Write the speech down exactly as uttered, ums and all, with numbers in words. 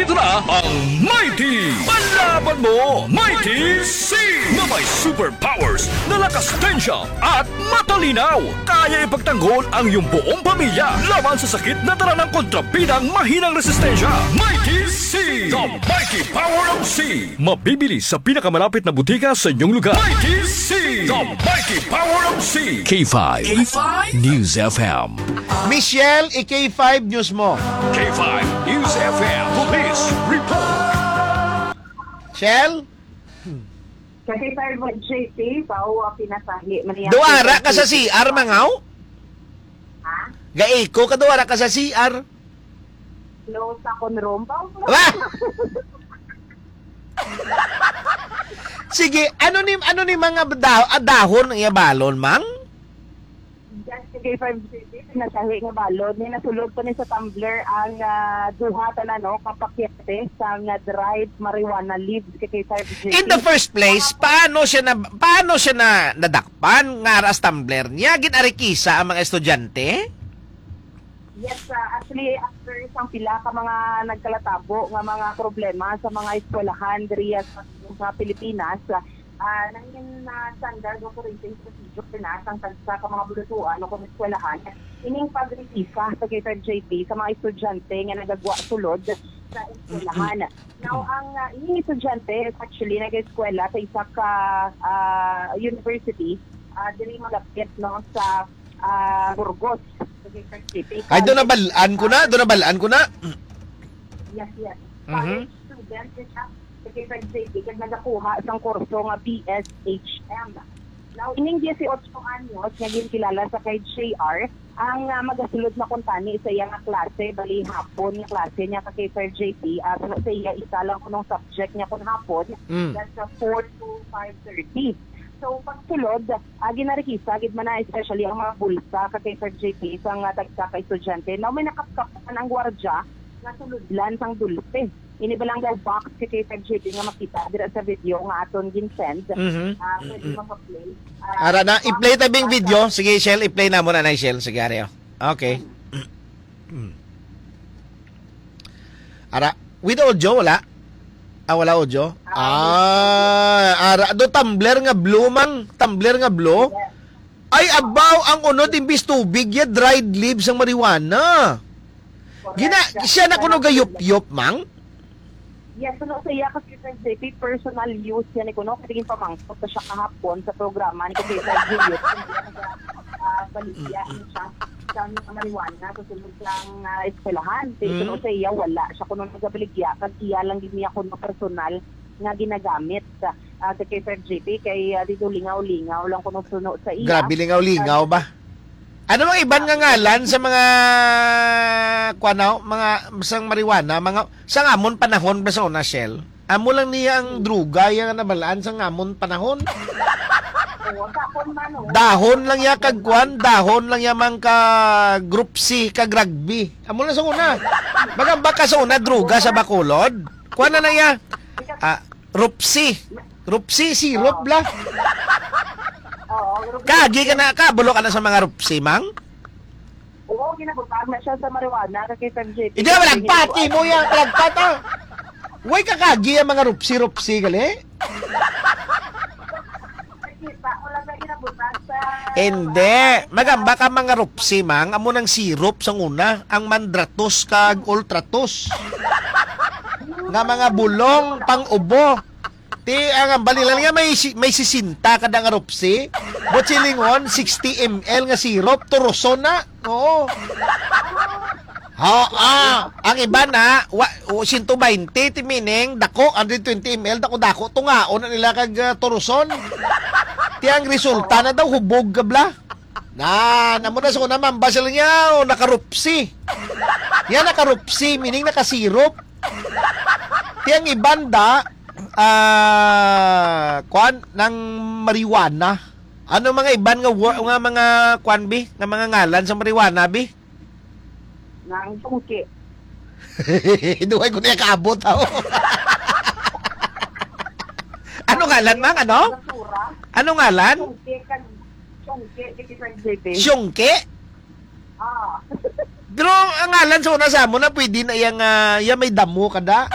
Ito na ang Mighty Palaban Mo, Mighty C, na may superpowers na lakas, tensya at matalinaw. Kaya ipagtanggol ang iyong buong pamilya laban sa sakit na dala ng kontrabidang mahinang resistensya. Mighty C, the mighty power of C. Mabibili sa pinakamalapit na butika sa inyong lugar. Mighty C, the mighty power of C. K five K five News F M. Michelle, i-K five News mo. K five News F M Police Report. Shell? Kasi sir, J P, pao, ah, pinasahi man niya. Duara ka sa C R, mangaw? Ha? Gaiko ka, duara ka sa C R. Close sa akon room. Pao, Ah! Sige, ano ni, ano ni mga da-, ah, dahon ang iya balon, mang? Just kay five City, nasahi nga balon. May nasulod pa ni sa tumbler ang, ah, duha tanan, no, ka pakete sang, ah, dried marijuana leaves kay five City. In the first place, paano siya na, paano siya na nadakpan nga aras tumbler niya? Gin-arikisa ang mga estudyante? Yes, ah, actually, after sang pila ka mga nagkalatabo nga mga problema sa mga eskwelahan diri sa, sa Pilipinas, ah, nangin na standard operating procedure na sang tagsa ka mga bulutuan o kung eskwelahan ining pagrekisa sa K five J P sa mga estudyante nga nagagwa sulod sa eskwelahan. Now, ang, ah, ining estudyante is actually nag-eskwela sa isa ka, ah, university, ah, diri malapit, no, sa, ah, Burgos, sa K five J P. Ay, doon nabalaan ko na, doon nabalaan ko na. Yes, yes. Mhm. College student siya sa K five J P kag nagakuha sang kurso nga B S H M. Now, ining dieciocho anyos nga ginkilala sa kay J R, ang, ah, magasulod na kuntani sa iya nga klase, bali hapon nga klase niya ka K five J P, ah, sa, sa iya isa lang kunong subject niya kun hapon, Mm. that's, ah, four to five thirty. So, pagsulod, ah, ginarikisa gid man na, especially ang mga bulsa ka K five J P sa nga tagsa ka estudyante. Now, may nakapkapan ang gwardya nga sulodlan sang dulce. Ini ba lang daw box kay K five J P nga makita dira sa video nga aton gin-send? Mhm. Ah, pwede Mm-mm. mapa-play. Ah, Ara na, box i-play ta bing sa video. Sige, Shell, i-play na mo na, Shell. Sige, ari, oh. Okay. Ara, with audio, wala? Ah, wala audio? Ah, Ah, ara, do tumbler nga blue, mang. Tumbler nga blue. Yes. Ay, abaw, ang unod imbis tubig, ya dried leaves ang marijuana. Correct. Gina-, siya na kuno gayupyop, mang? Yes, ano sa iya kasi, Sir J P, personal use yan, eh, kuno, kasi yung pamangkot na siya kahapon sa programa ni Sir Julius. Ah, baligya niya siya sa mga marijuana sa sulod sang, ah, eskwelahan. Kay Mm. kuno sa iya, wala siya kuno nagabaligya, kag iya lang gid niya kuno personal nga ginagamit. Ah, sa kay Sir J P, kay, ah, dito lingaw-lingaw lang kuno suno sa iya. Grabe, lingaw-lingaw Ah, ba? Ano ang iban nga ngalan sa mga, kuwan, no? Mga, sang marijuana, mga, sang amon panahon ba sa una, Shell? Amo lang niya ang druga, iya nga nabalaan sang amon panahon. Oo, dahon man, oh. Dahon lang ya kag kuwan, dahon lang ya mang ka group C, kag rugby. Amo lang sa una. Magambak ka sa una, druga sa Bacolod. Kuwan na na ya. Ah, Rupsi. Rupsi, syrup, bla. Oo, Rupsi. Kagi ka na, kabulo ka na sa mga Rupsi, mang? Oo, ginabutang na siya sa marijuana, kay Sir J P. Hindi, malagpati mo yan, malagpat, ah. Way ka kagi ang mga Rupsi, Rupsi, gali? Nakita ko lang na ginabutang sa Hindi. Magamba ka mga Rupsi, mang. Amo nang syrup sa una, ang Mandratos kag Ultratos. Nga mga bulong, pang-ubo. Ti, ang, ang balilan nga may si-, may sisenta kada nga Rupsi. But silingon, sixty M L nga syrup, turuson na. Oo. Ha, ah, ang iba na, wa, o, siyento baynte, ti meaning, dako, hundred twenty M L, dako-dako, tungaon na nila kag, ah, turuson. Ti ang resulta na daw, hubog ka bla. Na, namo na sa una, mambasal niya, o, nakarupsi. Yan, nakarupsi, meaning nakasirop. Ti ang iban da, ah, kwan, ng marijuana. Ano mga iban nga wor-, nga mga kwan, bi? Nga mga ngalan sa marijuana, bi? Nang sungki. Duhay ko niya kaabot, aw. Ano ngalan, mang? Ano? Basura. Ano ngalan? Sungki, kan-, sungki, kay Sir J P. Sungki? Ah. Pero ang ngalan sa una sa amo na pwede na yang, ah, yang may damo kada.